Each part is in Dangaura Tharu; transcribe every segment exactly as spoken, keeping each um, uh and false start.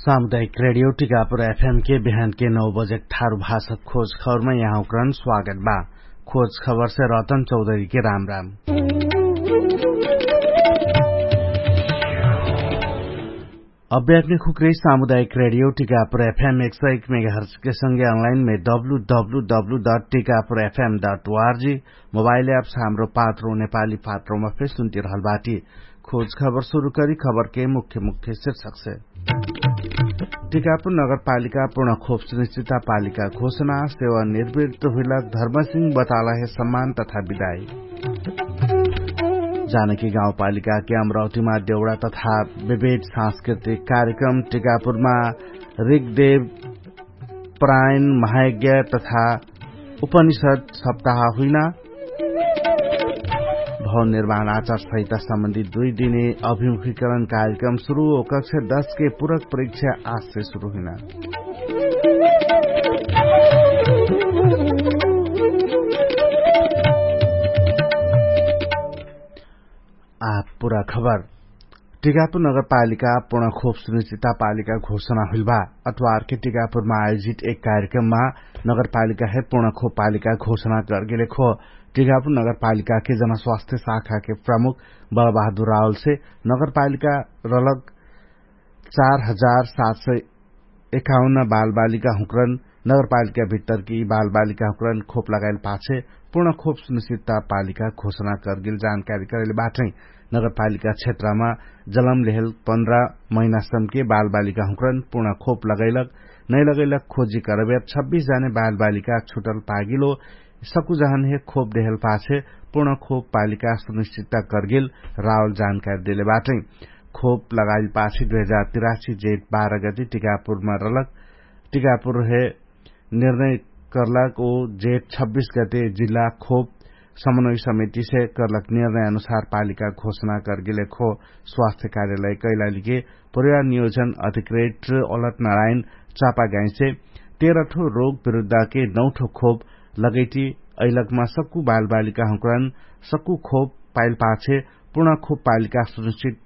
सामुदायिक रेडियो टिकापुर एफएम के बिहान के नौ बजेक थारु भाषक खोज खबरमा यहाँकरण स्वागत बा। खोज खबर से रतन चौधरी के राम राम। अभ्यात्मिक हुक्रे सामुदायिक रेडियो टिकापुर एफएम एक सौ एक मेगाहर्च के संगे अनलाइन मे W W W dot Tikapur FM dot O R G mobile apps Hamro Patro नेपाली पात्रोमा फेर सुन्तिरहल बाटी। खोज खबर सुरु करी खबर के मुख्य मुख्य शीर्षक से। टिकापुर नगरपालिका पूर्ण खोप सुनिश्चितता पालिका घोषणा सेवा निर्वृत्त हुइलक धर्मसिंह बतालहे सम्मान तथा विदाई। जानकी गाउँपालिका के अमरावतीमा देउडा तथा विविध सांस्कृतिक कार्यक्रम टिकापुरमा रिगदेव प्रायण महायज्ञ तथा उपनिषद सप्ताह हुइना। भवन निर्माण आचार सहिता सम्बन्धित दुई दिने अभिमुखीकरण कार्यक्रम सुरु हो कक्षा दस के पूरक परीक्षा आजसे सुरु हुइना। आठ पुरा खबर। टिकापुर नगरपालिका पूर्ण खोप सुनिश्चिता पालिका घोषणा हुइल बा। अतवारके टिकापुरमा आयोजित एक कार्यक्रममा नगरपालिकाहे पूर्ण खोप पालिका घोषणा करगेलेक हो। टिकापुर नगरपालिकाके जनस्वास्थ्य शाखाके प्रमुख बलबहादुर रावलसे नगरपालिका रलक चार हजार सात सय एकाउन्न बालबालिका हुँक्रन नगरपालिका भित्तरकी बालबालिका हुँक्रन खोप लगाइल पाछे पूर्ण खोप सुनिश्चितता पालिका घोषणा करगेल जानकारी करैले बाटै। नगरपालिका क्षेत्रमा जलम लेहल पन्ध्र महिनासमके बालबालिका हुँक्रन पूर्ण खोप लगैलक नैलगैलक खोजी करबेर छब्बिस जाने बालबालिका छुटल पागिलो। सकुजहनहे खोप देहल पाछे पूर्ण खोप पालिका सुनिश्चितता करगेल रावल जानकारी देले बाटै। खोप लगाइल पाछे दुई हजार तिरासी जेठ बाह्र गते टिकापुरमा रलक टिकापुरहे निर्णय करलक ओ जेठ छब्बिस गते जिल्ला खोप समन्वय समितिसे करलक निर्णय अनुसार पालिका घोषणा करगेले खो। स्वास्थ्य कार्यालय कैलालीके परिवार नियोजन अधिकृत अलत नारायण चापागाइसे तेह्र ठो रोग विरुद्धके नौ ठो खोप लगैटी अइलकमा सक्कु बालबालिका हुँक्रन सक्कु खोप पाइल पाछे पूर्ण खोप पालिका सुनिश्चित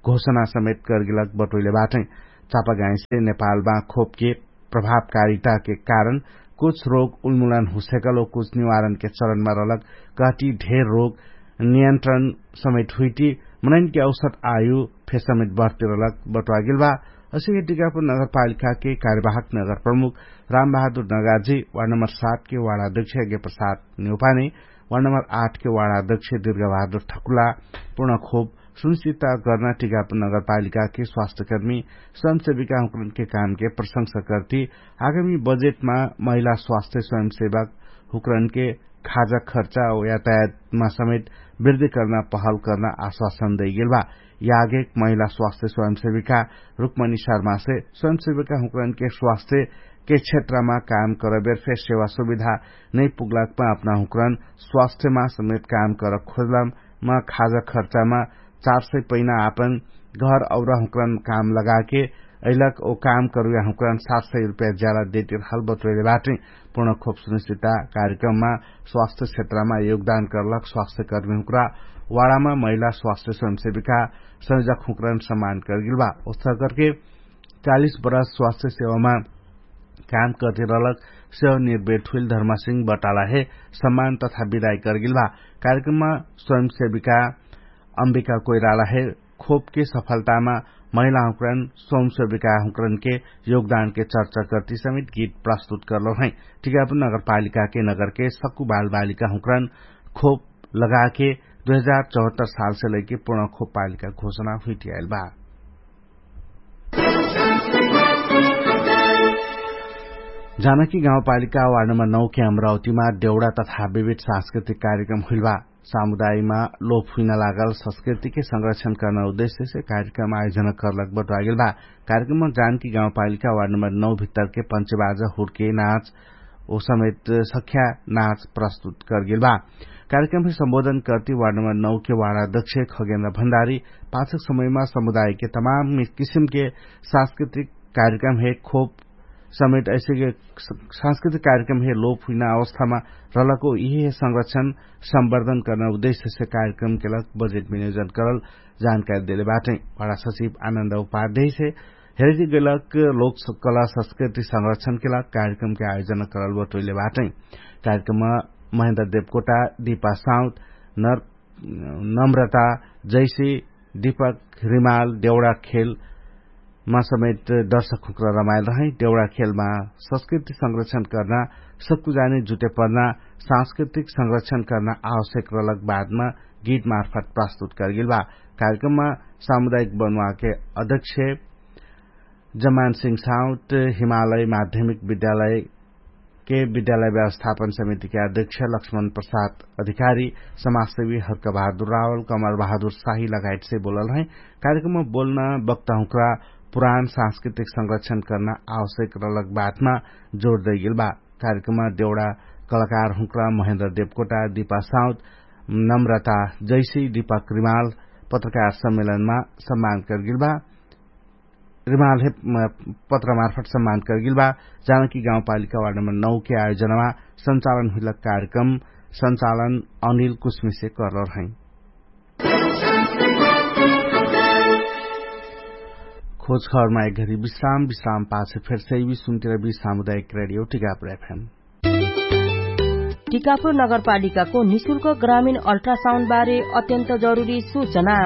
घोषणा समेत करगेलक बटोइले बाटै। चापागाइसे नेपालमा खोपके प्रभावकारिताके कारण कुछ रोग उन्मुलन हुसेकल ओ कुछ निवारणके चरणमा रलक कहटी ढेर रोग नियन्त्रण समेत हुइटी मनैनके औसत आयु फेर समेत बढ्तिरलक बटुवागेल बा। असिके टिकापुर नगरपालिकाके कार्यवाहक नगर प्रमुख रामबहादुर नगाजी वार्ड नम्बर सात के वार्ड अध्यक्ष यज्ञ प्रसाद नेउपाने वार्ड नम्बर आठ के वार्ड अध्यक्ष दुर्गाबहादुर ठकुला पूर्ण खोप सुनिश्चितता गर्न टिकापुर नगरपालिकाके स्वास्थ्यकर्मी स्वयंसेविका हुँक्रनके कामके प्रशंसा करती आगामी बजेटमा महिला स्वास्थ्य स्वयंसेवक हुँक्रनके खाजा खर्चा औ यातायातमा समेत वृद्धि कर्ना पहल कर्ना आश्वासन दैगेल बा। यागेक महिला स्वास्थ्य स्वयंसेविका रुक्मणी शर्मासे स्वयंसेविका हुँक्रनके स्वास्थ्यके क्षेत्रमा काम करबेर फेर सेवा सुविधा नै पुग्लाकमा अपना हुँक्रन स्वास्थ्यमा समेत काम कर खोज्लामा खाजा खर्चामा चार सय पैना आपन घर औरा हुँक्रन काम लगाके अइलक ओ काम करुया हुँक्रन सात सय रुपैया ज्याला देतिर हल बतोइले बाटै। पूर्ण खोप सुनिश्चितता कार्यक्रममा स्वास्थ्य क्षेत्रमा योगदान करलक स्वास्थ्यकर्मी हुँक्रा वाडामा महिला स्वास्थ्य स्वयंसेविका संयोजक हुँक्रन सम्मान करगेल बा। उस्था करके चालिस बरस स्वास्थ्य सेवामा काम करते रहलक सेवा निर्वेट हुइल धर्मासिंह बटालाहे सम्मान तथा विदाई करगेल बा। कार्यक्रममा स्वयंसेविका अम्बिका कोइरालाहे खोपके सफलतामा महिला हुँक्रन स्वयंसेविका हुँक्रनके योगदानके चर्चा करती समेत गीत प्रस्तुत करलो है। टिकापुर नगरपालिकाके नगरके सक्कु बालबालिका हुँक्रन खोप लगाके दुई हजार चौहत्तर सालसे लैके पूर्ण खोप पालिका घोषणा हुइटियाइल बा। जानकी गाउँपालिका वार्ड नम्बर नौ के अमरावतीमा देउडा तथा विविध सांस्कृतिक कार्यक्रम हुइल बा। सामुदायमा लोप हुइना लागल संस्कृतिके संरक्षण कर्ना उद्देश्यसे कार्यक्रम आयोजना कर्लक बटुवागेल बा। कार्यक्रममा जानकी गाउँपालिका वार्ड नम्बर नौ भित्तरके पञ्चबाजा हुर्के नाच ओ समेत सख्या नाच प्रस्तुत करगेल बा। कार्यक्रममे सम्बोधन करती वार्ड नम्बर नौ के वार्ड अध्यक्ष खगेन्द्र भण्डारी पाछक समयमा समुदायके तमाम किसिमके सांस्कृतिक कार्यक्रम हे खोप समेत ऐसेके सांस्कृतिक कार्यक्रम हे लोप हुइना अवस्थामा रहलको यिहे संरक्षण सम्वर्धन कर्ना उद्देश्यसे कार्यक्रमके लग बजेट विनियोजन करल जानकारी देले बाटै। वार्ड सचिव आनन्द उपाध्यायसे हेरिति गैलक लोक कला संस्कृति संरक्षणके लाग कार्यक्रमके आयोजना करल बटोइले बाटै। कार्यक्रममा महेन्द्र देवकोटा, दीपा साउत, नम्रता जैसी, दीपक रिमाल, देउडा खेलमा समेत दर्शक हुँक्रा रमाइल रहै। देउडा खेलमा संस्कृति संरक्षण कर्ना, सक्कु जाने जुटे पर्ना, सांस्कृतिक संरक्षण कर्ना आवश्यक रहलक बादमा गीत मार्फत प्रस्तुत करगेल बा। कार्यक्रममा सामुदायिक बनुवाके अध्यक्ष जमान सिंह साउत, हिमालय माध्यमिक विद्यालयके विद्यालय व्यवस्थापन समितिके अध्यक्ष लक्ष्मण प्रसाद अधिकारी, समाजसेवी हर्क बहादुर रावल, कमर बहादुर साही लगायतसे बोलल है। कार्यक्रममा बोल्ना बक्ता हुँक्रा पुरान सांस्कृतिक संरक्षण कर्ना आवश्यक रहलक बातमा जोड दैगेल बा। कार्यक्रममा देउडा कलाकार हुँक्रा महेन्द्र देवकोटा, दीपा साउत, नम्रता जैसी, दीपक रिमाल पत्रकार सम्मेलनमा सम्मान करगेल बा। रिमाल हे पत्रमार्फत सम्मान करगेल बा। जानकी गाउँपालिका वार्ड नम्बर नौ के आयोजनामा सञ्चालन हुइलक कार्यक्रम सञ्चालन अनिल कुस्मिसे करल रहै। खोज खबरमा एक घरी विश्राम विश्राम पाछे फेर सैवी सुन्तिर बी सामुदायिक रेडियो टिकापुर एफएम। टिकापुर नगरपालिकाको निशुल्क ग्रामीण अल्ट्रासाउन्ड बारे अत्यन्त जरुरी सूचना।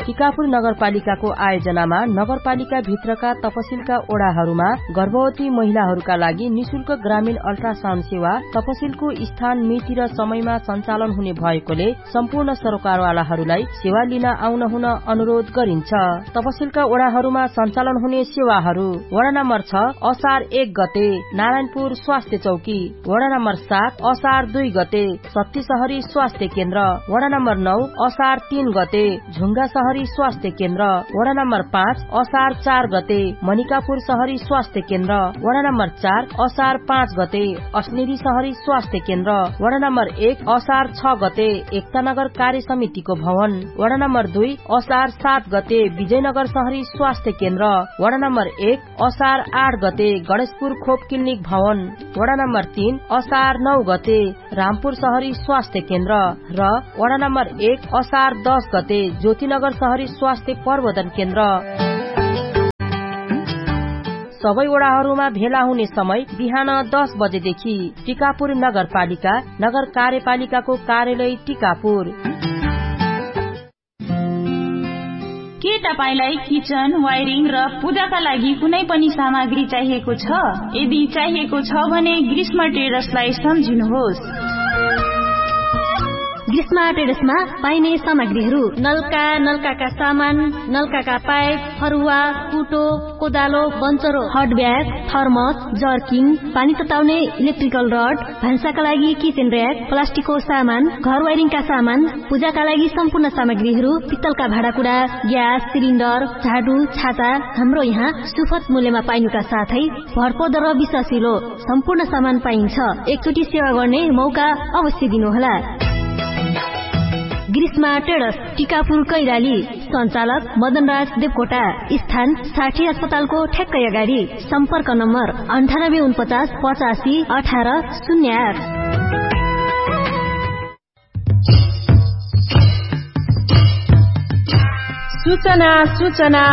टिकापुर नगरपालिकाको आयोजनामा नगरपालिका भित्रका तपसिलका ओडाहरूमा गर्भवती महिलाहरूका लागि निशुल्क ग्रामीण अल्ट्रासाउन्ड सेवा तपसिलको स्थान मिति र समयमा सञ्चालन हुने भएकोले सम्पूर्ण सरोकारवालाहरूलाई सेवा लिन आउन हुन अनुरोध गरिन्छ। तपसिलका ओडाहरूमा सञ्चालन हुने सेवाहरू वडा नम्बर छ असार एक गते नारायणपुर स्वास्थ्य चौकी, वडा नम्बर सात असार दुई गते सत्ती सहरी स्वास्थ्य केन्द्र, वडा नम्बर नौ असार तीन गते झुङ्गा सहरी स्वास्थ्य केन्द्र, वडा नम्बर पाँच असार चार गते मनिकापुर सहरी स्वास्थ्य केन्द्र, वडा नम्बर चार असार पाँच गते अस्नेरी सहरी स्वास्थ्य केन्द्र, वडा नम्बर एक असार छ गते एकतानगर कार्य समितिको भवन, वडा नम्बर दुई असार सात गते विजयनगर सहरी स्वास्थ्य केन्द्र, वडा नम्बर एक असार आठ गते गणेशपुर खोप क्लिनिक भवन, वडा नम्बर तीन असार नौ गते रामपुर सहरी स्वास्थ्य केन्द्र र वडा नम्बर एक असार दस गते ज्योतिनगर सहरी स्वास्थ्य प्रबोधन केन्द्र। सबै वडाहरूमा भेला हुने समय बिहान दस बजेदेखि। टिकापुर नगरपालिका, नगर कार्यपालिकाको कार्यालय टिकापुर। के तपाईंलाई किचन, वायरिङ र पूजाका लागि कुनै पनि सामग्री चाहिएको छ? यदि चाहिएको छ भने ग्रीष्म ट्रेडर्सलाई सम्झिनुहोस्। ग्रीष्म ट्रेडर्समा पाइने सामग्रीहरू: नलका, नलकाका सामान, नलकाका पाइप, फरुवा, कुटो, कोदालो, बन्चरो, हट ब्याग, थर्मस, जर्किङ, पानी तताउने इलेक्ट्रिकल रड, भान्साका लागि किचेन र्‍याक, प्लास्टिकको सामान, घर वाइरिङका सामान, पूजाका लागि सम्पूर्ण सामग्रीहरू, पित्तलका भाँडाकुडा, ग्यास सिलिन्डर, झाडु, छाता, हाम्रो यहाँ सुफत मूल्यमा पाइनुका साथै भरपर्दो र विश्वासिलो सम्पूर्ण सामान पाइन्छ। एकचोटि सेवा गर्ने मौका अवश्य दिनुहोला। ग्रीष्मा ट्रेडर्स, टिकापुर कैलाली। सञ्चालक मदनराज देवकोटा। स्थान साठी अस्पतालको ठ्याक्कै अगाडि। सम्पर्क नम्बर अन्ठानब्बे उनपचास पचासी अठार शून्य आठ। सूचना, सूचना।